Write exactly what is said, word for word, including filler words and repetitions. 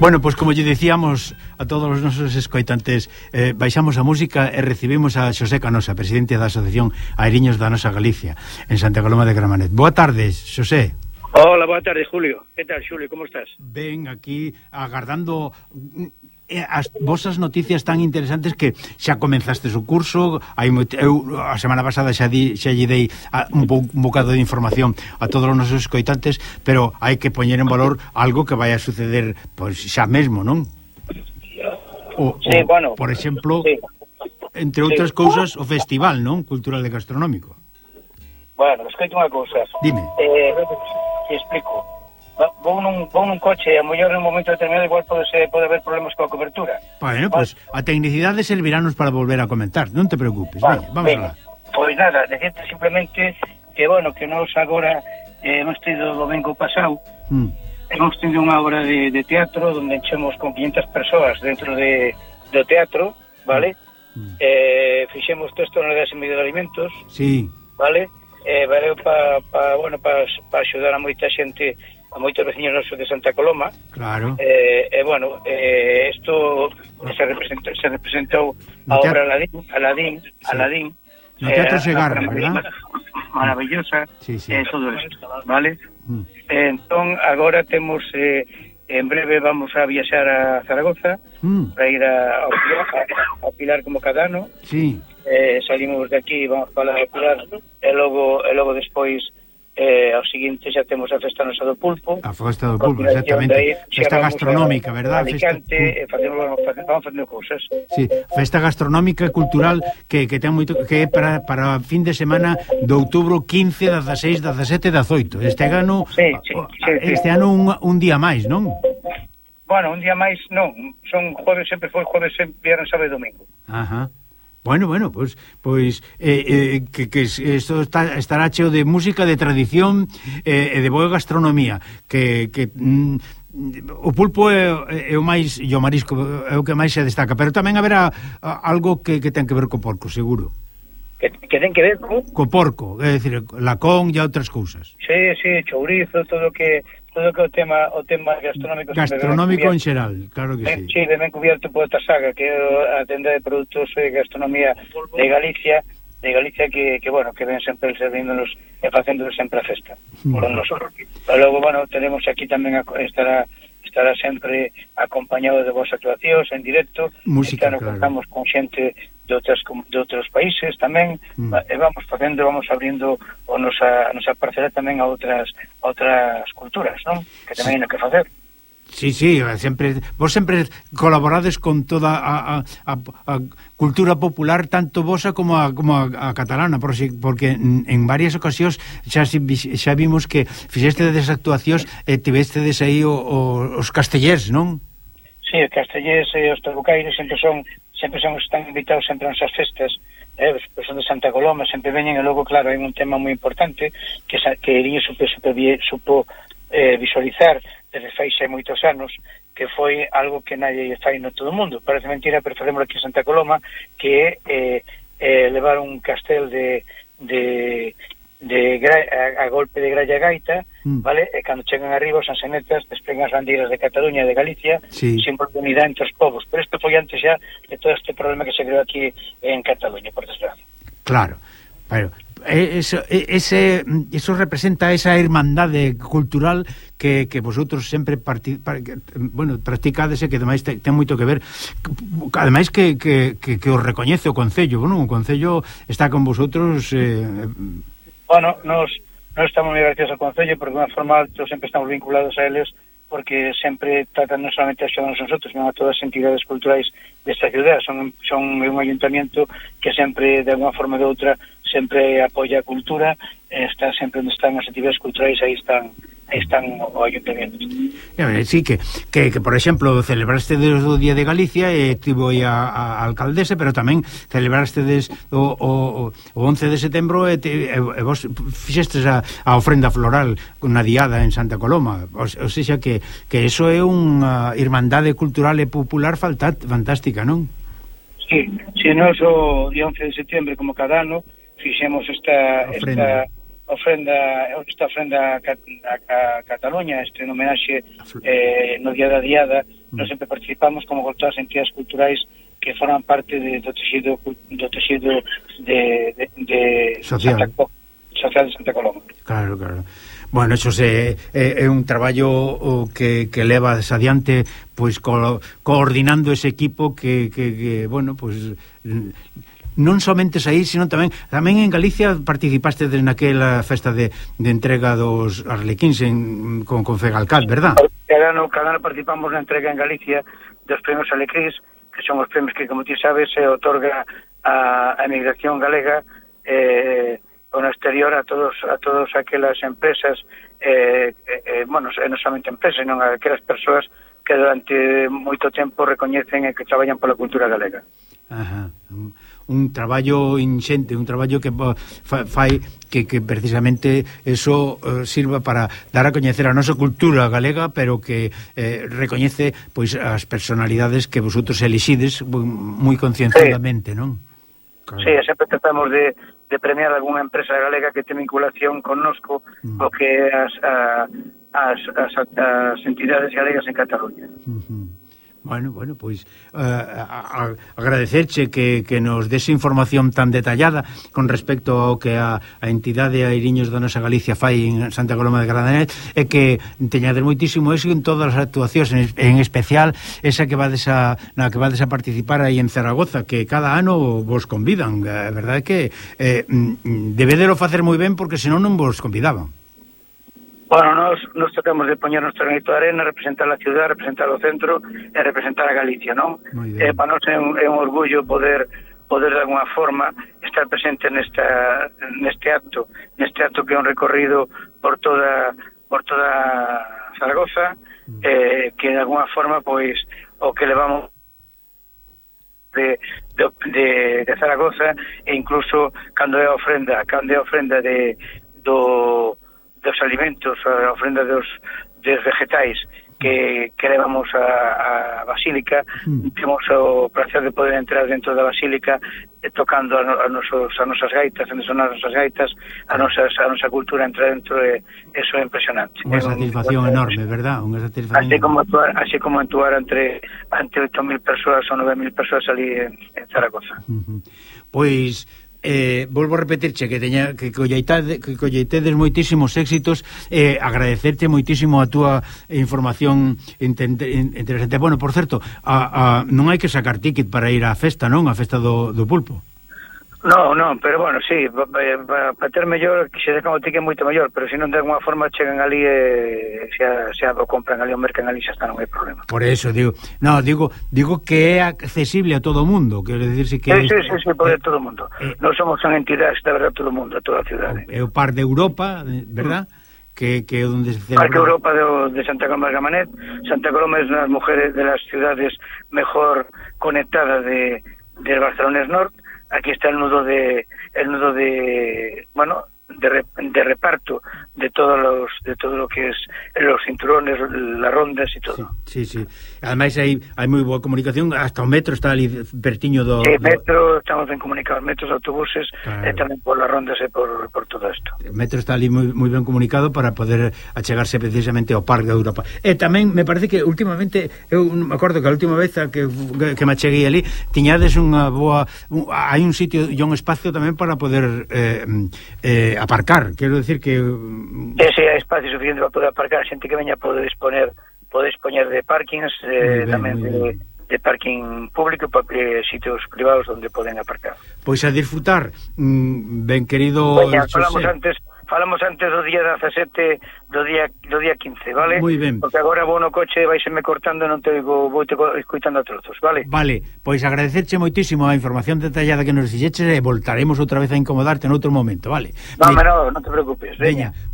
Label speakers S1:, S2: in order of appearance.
S1: Bueno, pois pues, como lle dicíamos a todos os nosos escoitantes, eh, baixamos a música e recibimos a Xosé Canosa, presidente da Asociación Airiños da nosa Galicia, en Santa Coloma de Gramanet. Boa tarde, Xosé.
S2: Hola, boa tarde, Julio. Que tal, Xulio, como estás?
S1: Ben, aquí agardando as vosas noticias tan interesantes que xa comenzastes o curso. Hai moito, eu a semana pasada xa di, xa lle dei a, un, bo, un bocado de información a todos os nosos escoitantes, pero hai que poñer en valor algo que vai a suceder pois xa mesmo, non? O,
S2: sí,
S1: o,
S2: bueno,
S1: por exemplo,
S2: sí.
S1: entre outras sí. cousas, o festival, non? Cultural e gastronómico.
S2: Bueno, escoito unha cousa.
S1: Dime.
S2: Eh, te explico. Vou nun, vou nun coche e a mellor en un momento determinado igual pode, ser, pode haber problemas coa cobertura.
S1: Bueno, pois pues, a tecnicidade serviranos para volver a comentar, non te preocupes. Vale, Veña, vamos alá.
S2: Pois nada, decirte simplemente que, bueno, que nos agora eh, hemos tido o domingo pasado mm. hemos tido unha obra de, de teatro onde enchemos con quinhentas persoas dentro de, do teatro, vale? Mm. Eh, fixemos tres toneladas e medio de alimentos,
S1: sí.
S2: Vale? Eh, valeu para pa, bueno, pa, pa axudar a moita xente, a moitos veciños nosos de Santa Coloma.
S1: Claro.
S2: Eh, eh, bueno, eh, esto se representó, se representou a obra Aladín, Aladín, sí. Aladín.
S1: No Teatro eh, Segarra, ¿verdad?
S2: Maravillosa,
S1: sí, sí.
S2: Eh, todo isto, vale? Mm. Eh, entón, agora temos, eh, en breve vamos a viaxar a Zaragoza, mm. para ir a, a, a, a Pilar como cada ano.
S1: Sí.
S2: Eh, salimos de aquí, vamos para a Pilar, e logo, e logo despois eh, ao seguinte xa temos a festa nosa do pulpo,
S1: a festa do pulpo, exactamente, aí, festa gastronómica,
S2: a,
S1: verdad?
S2: A Alicante, festa... e facemos, vamos facendo cousas.
S1: Sí, festa gastronómica e cultural que, que ten moito, que é para, para fin de semana de outubro quince, dezaseis, dezasete e dezaoito. Este ano,
S2: sí, sí, sí,
S1: este
S2: sí.
S1: ano un, un día máis, non?
S2: Bueno, un día máis non, son jueves, sempre foi jueves, viernes, sábado e domingo.
S1: Ajá. Bueno, bueno, pois pues, pues, eh, eh, que, que isto está, estará cheo de música, de tradición e eh, de boa gastronomía, que, que mm, o pulpo é, é o máis, e o marisco é o que máis se destaca, pero tamén haberá algo que, que ten que ver co porco, seguro.
S2: Que, que ten que ver co?
S1: Co porco, é dicir, lacón e outras cousas.
S2: Sí, sí, chourizo, todo que todo que o tema o tema gastronómico
S1: gastronómico en xeral, claro que
S2: ben,
S1: sí.
S2: Sí, ben cubierto por esta saga que é a tenda de produtos de gastronomía de Galicia, de Galicia que, que bueno, que ven sempre servíndonos e facéndonos sempre a festa mm. con nosotros. Pero logo, bueno, tenemos aquí tamén a, estará estará sempre acompañado de vos actuacións en directo,
S1: música,
S2: claro. Contamos con xente de outras de outros países tamén, mm. e vamos facendo, vamos abrindo o nosa a nosa parcela tamén a outras a outras culturas, non? Que tamén hai que facer.
S1: Sí, sí, sempre vos sempre colaborades con toda a, a, a, a cultura popular, tanto vosa como a, como a, a catalana, por si, porque en, en varias ocasións xa, xa vimos que fixestedes actuacións e tivestedes aí o, o, os castellers, non?
S2: Sí, os castellers e os trabucairos sempre son sempre son están invitados sempre a nosas festas, eh, os son de Santa Coloma, sempre veñen, e logo, claro, hai un tema moi importante que, que Eriño supo, supo, supo eh, visualizar desde fai xa moitos anos, que foi algo que nadie fai no todo o mundo. Parece mentira, pero facemos aquí en Santa Coloma, que é eh, eh, levar un castel de de, de gra, a, a golpe de gralla gaita, mm. vale? E cando chegan arriba os ansenetas desplegan as bandeiras de Cataluña e de Galicia,
S1: sí.
S2: Sempre de unidade entre os povos. Pero isto foi antes xa de todo este problema que se creou aquí en Cataluña, por desgracia.
S1: Claro, pero eso, ese, eso representa esa irmandade cultural que, que vosotros sempre parti, bueno, practicades e que ademais ten, ten moito que ver, ademais que, que, que, que os recoñece o Concello, bueno, o Concello está con vosotros. eh...
S2: Bueno, nos, nos estamos moi agradecidos ao Concello porque de unha forma alta sempre estamos vinculados a eles, porque sempre tratan non solamente a xedarnos nosotros, sino a todas as entidades culturais desta ciudad. Son, son un ayuntamiento que sempre, de alguna forma ou de outra, sempre apoia a cultura, está sempre onde están as actividades culturais, aí están aí están o ayuntamiento.
S1: Eh, sí, que, que, que por exemplo, celebraste o Día de Galicia e tivo aí a, a alcaldesa, pero tamén celebraste o, o, o once de setembro e, te, e, e vos fixestes a, a ofrenda floral na diada en Santa Coloma, o, o seja que, que eso é unha irmandade cultural e popular fantástica, non?
S2: Sí, si nos o día once de setembro, como cada ano, fixemos esta ofrenda. esta ofrenda esta ofrenda a, a, a Cataluña, este homenaxe eh, no día da diada nós sempre participamos como con todas as entidades culturais que forman parte de, do texido do texido de, de, de
S1: social.
S2: Santa, social de Santa Coloma.
S1: Claro, claro. Bueno, eso se, é, é un traballo que, que levas adiante, pois co, coordinando ese equipo que, que, que bueno, pois non somente aí, sino tamén tamén en Galicia participaste naquela festa de, de entrega dos Arlequíns en, con, con Fegalcat, verdad?
S2: Cada ano, cada ano participamos na entrega en Galicia dos premios Arlequíns, que son os premios que, como ti sabes, se otorga a, a emigración galega eh, no exterior a todos a todas aquelas empresas, eh, eh, bueno, non somente empresas, non a aquelas persoas que durante moito tempo recoñecen e que traballan pola cultura galega.
S1: Ajá. Un, un traballo inxente, un traballo que fa, fai que, que precisamente eso uh, sirva para dar a coñecer a nosa cultura galega, pero que eh, recoñece pois as personalidades que vosotros elixides moi concienciadamente, sí. Non?
S2: Claro. Sí, sempre tratamos de, de premiar algunha empresa galega que ten vinculación connosco mm. o que as, a, as, as, as entidades galegas en Cataluña.
S1: Uh-huh. Bueno, bueno, pois uh, a, a, agradecerche que, que nos des información tan detallada con respecto ao que a, a entidade a Iriños da nosa Galicia fai en Santa Coloma de Gradanet, e que teñades moitísimo éxito en todas as actuacións, en, en especial esa que vades a, na que vades a participar aí en Zaragoza, que cada ano vos convidan. A verdade é que eh, debedero facer moi ben, porque senón non vos convidaban.
S2: Bueno, nos, nos tratamos de poñer nuestro granito de arena, representar a ciudad, representar o centro e representar a Galicia, non? Eh, para nós é un, é un orgullo poder poder de alguna forma estar presente nesta neste acto, neste acto que é un recorrido por toda por toda Zaragoza, eh, que de alguna forma pois o que levamos de, de, de, de Zaragoza, e incluso cando é a ofrenda, cando é a ofrenda de do dos alimentos, a ofrenda dos, dos vegetais que, que levamos a, a Basílica, mm. temos o placer de poder entrar dentro da Basílica eh, tocando a, a, nosos, a nosas gaitas, a nosas gaitas, a, nosas, a nosa cultura entra dentro, e eso é impresionante.
S1: Unha satisfacción un, enorme, verdad? Unha satisfacción
S2: así como actuar, así como actuar entre ante oito mil persoas ou nove mil persoas ali en, en Zaragoza.
S1: Uh-huh. Pois Eh, volvo a repetirche que teña que colleitade, que colleitedes moitísimos éxitos, e eh, agradecerte moitísimo a túa información interesante. Bueno, por certo, a, a, non hai que sacar ticket para ir á festa, non? A festa do, do pulpo.
S2: No, no, pero bueno, sí, para pa ter mellor, que se decan o ticket moito mellor, pero se non de alguma forma chegan ali e xa, xa o compran ali o mercan ali, xa está, non hai problema.
S1: Por eso, digo, no, digo digo que é accesible a todo o mundo, quero dicirse que...
S2: Sí, sí, sí, sí, por eh, todo o mundo. Eh, non somos unha entidade, está verdad, todo o mundo, a toda a cidade.
S1: É o par de Europa, verdad? Mm. Que, que é onde se celebra...
S2: Parque Europa de, de Santa Coloma de Gramanet. Santa Coloma é unha das mujeres de las ciudades mejor conectadas de, de Barcelona Norte. Aquí está el nudo de el nudo de bueno de, de reparto de todos los de todo lo que es los cinturones, las rondas y todo.
S1: Sí, sí, sí. Ademais hai hai moi boa comunicación, hasta o metro está ali pertiño do...
S2: Sí, metro, estamos ben comunicados, metros, autobuses, claro. E tamén por las rondas e por, por todo isto.
S1: O metro está ali moi, moi ben comunicado para poder achegarse precisamente ao Parque de Europa. E tamén me parece que últimamente, eu me acordo que a última vez que, que me acheguei ali, tiñades unha boa... Un, hai un sitio e un espacio tamén para poder eh, eh, aparcar, quero decir que...
S2: Ese é espacio suficiente para poder aparcar, a xente que veña pode disponer pode dispoñer de parkings, eh, ben, tamén de, de parking público, para sitios privados onde poden aparcar.
S1: Pois a disfrutar, mm, ben querido...
S2: Veña, falamos antes falamos antes do día dezasete, do día do día quince, vale?
S1: Moi ben.
S2: Porque agora vou no coche, vaiseme cortando, non te digo, vou te escoitando a trozos, vale?
S1: Vale, pois agradecerche moitísimo a información detallada que nos dixeches, e voltaremos outra vez a incomodarte en outro momento, vale?
S2: No, pero non te preocupes, veña. veña.